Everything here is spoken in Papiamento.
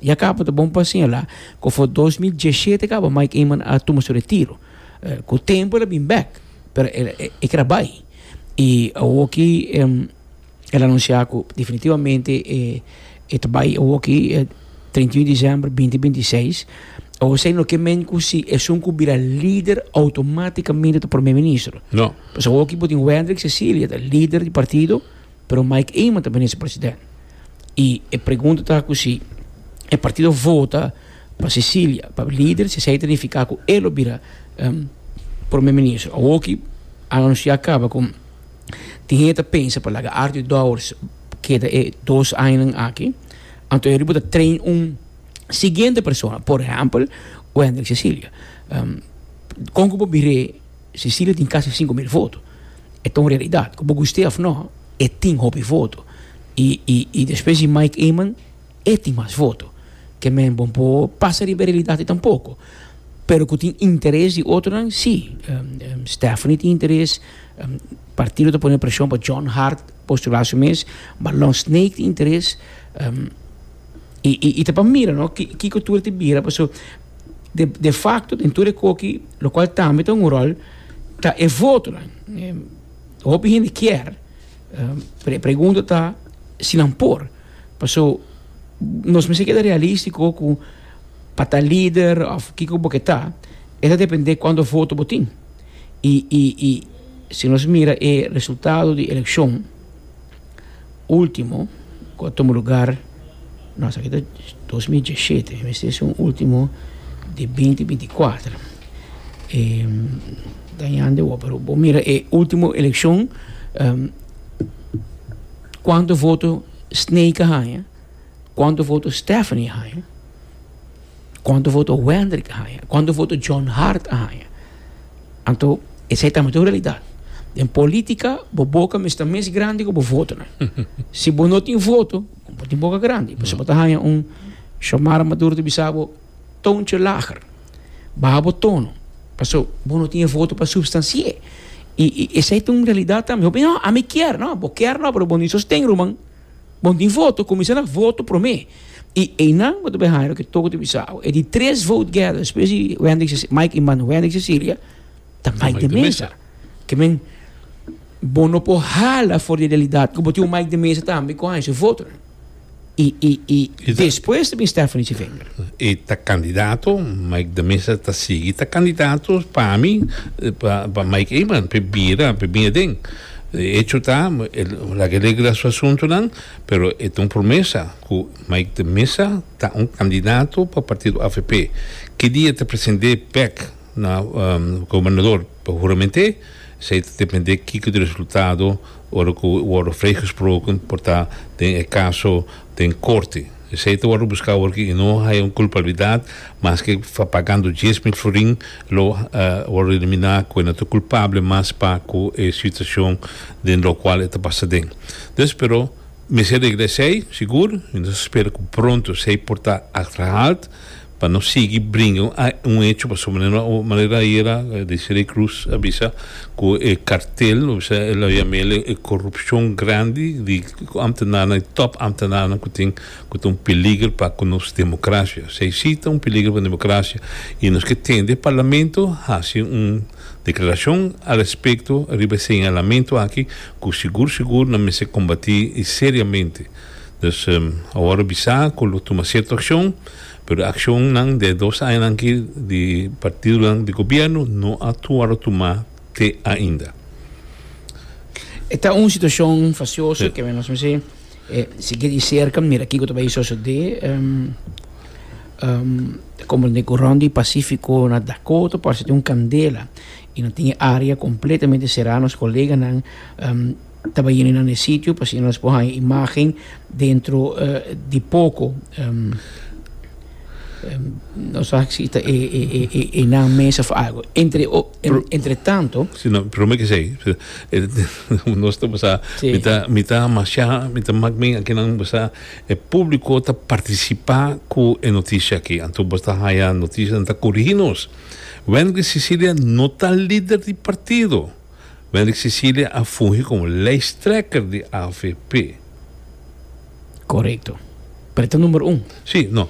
Ya caba ta bon pa señala cu for 2017 caba Mike Eman a tuma su retiro. Cu tempo el a bin bek, pero e keda bay. Y awoki el a anuncia cu definitivamente e ta bay awoki 31 december 2026. Awor esey no ke men cu si esun cu bira lider automaticamente ta prome ministro. No. Pasobra awoki bo tin Wendrick Cecilia ta lider di partido. Pero Mike Eman ta minister president. Y e pregunta ta cu si e partido vota pa Cecilia pa lider, si esey ta nifica cu e lo bira prome minister. Awoki a anuncia caba cu tin hende ta pensa pa laga Arthur Dowers keda e dos añanan aki, anto e riba ta train un siguiente persona, por ehempel Wendrick Cecilia. Con cu bo bire Cecilia tin casi 5000 voto. E ta un realidad. Cu bo guste of no, e tin hopi voto. Y, y, y despues di Mike Eman, e tin mas voto. Ke men bon por pasa riba e realidad ei tampoco. Pero cu tin interes di otronan, si. Stephanie tin interes, partido ta pone presion pa John Hart postula su mes, Marlon Snake tin interes. Y, y, y ta pa mira, no, kico tur ta bira, paso de, de facto den tur e koki, locual tambe ta un rol, ta e votonan. Hopi hende kier, pero e pregunta ta si nan por. Paso nos mester keda realistico cu pa ta lider of kico bo ke ta, e ta depende cuanto voto bo tin. Y, y, y si nos mira e resultado di eleccion ultimo cu a tuma lugar, no esaki ta 2017, mester es un ultimo di 2024. E dañando awor, pero bo mira e ultimo eleccion cuanto voto Snake a haña, cuanto voto Stephanie a haña, cuanto voto Wendrick a haña, cuanto voto John Hart a haña. Anto esei tambe ta un realidad. Den politica bo boca mester ta mes grandi cu bo votonan. Si bo no tin voto, bo tin boca grandi. Pasobra bo ta haña un Xiomara Maduro ta bisa bo toontje lager, baha bo tono, pasobra bo no tin e voto pa substansi'é. Y esei ta un realidad tambe. Hopi no, ami kier. No, bo kier no, pero bo no tin sosten, ruman. Bo no tin voto, cuminsa na voto prome. Y einan bo ta bay haña loke Toco ta bisa awe. E di tres vote getter despues di Wendrick, Mike Eman, Wendrick Cecilia, ta Mike de Meza. Ke men, bo no por hala for di e realidad cu bo tin un Mike de Meza tambe cu haña su votonan. Y, y, y despues ta bin Stephanie Tjivinger. E ta candidato, Mike de Meza ta sigui ta candidato pa mi, pa, pa Mike Eman, p'e bira, p'e bin aden. E hecho ta, laga e regla su asuntonan, pero e ta un promesa cu Mike de Meza ta un candidato pa partido avp. Ki dia ta presente bek na gobernador pa hurament'é, esey ta depende kico di resultado Ora ku wòrdu vrijgesproken por ta den e kaso den korte. Esei ta wòrdu buská awor ki i no haya un kulpabilidat, maske pagando 10,000 florin lo wòrdu eliminá ku e no ta kulpable mas pa ku e situashon den lokual e ta pasa den. Dus pero mester regla esei sigur i nos ta spera ku pronto esei por ta achterhaald. Pa no sigui bringa un hecho pasobra manera ayera Desiree Cruz a bisa cu e cartel lo bisa el a yam'el e corupcion grandi di ambtenaarnan e top ambtenaarnan cu tin cu ta un peliger pa cu nos democracia. Esey si ta un peliger pa democracia y nos ke tende parlamento haci un declaracion al respecto riba e señalamento aki cu sigur sigur nan mester combati y seriamente. Dus awor a bisa cu lo tuma cierto accion, pero e accionnan de dos añanan aki di partidonan di gobierno no a worde tuma te ainda. E ta un situacion facioso ke nos mester sigui di cerca mira kico ta bay sosode. Como den cu rond di Pacifico na Dakota parece tin un candela y nan tin e area completamente cera. Nos coleganan Ta bai yena nan e sitio pa asina nos por haña imagen dentro di poko. Nos wak si ta e nan mes of algo. Entre entre tanto. Si no, prome ke esei, nos ta basa, mi ta mi ta masha, mi ta mak mi akinan basa e publiko ta partisipa ku e notisia aki. Anto bo ta haña notisianan ta korigi nos. Wendrick Cecilia no ta lider di partido. Wendrick Cecilia a fungi komo lijsttrekker di avp. Korekto. Pero e ta number un. Sí, no.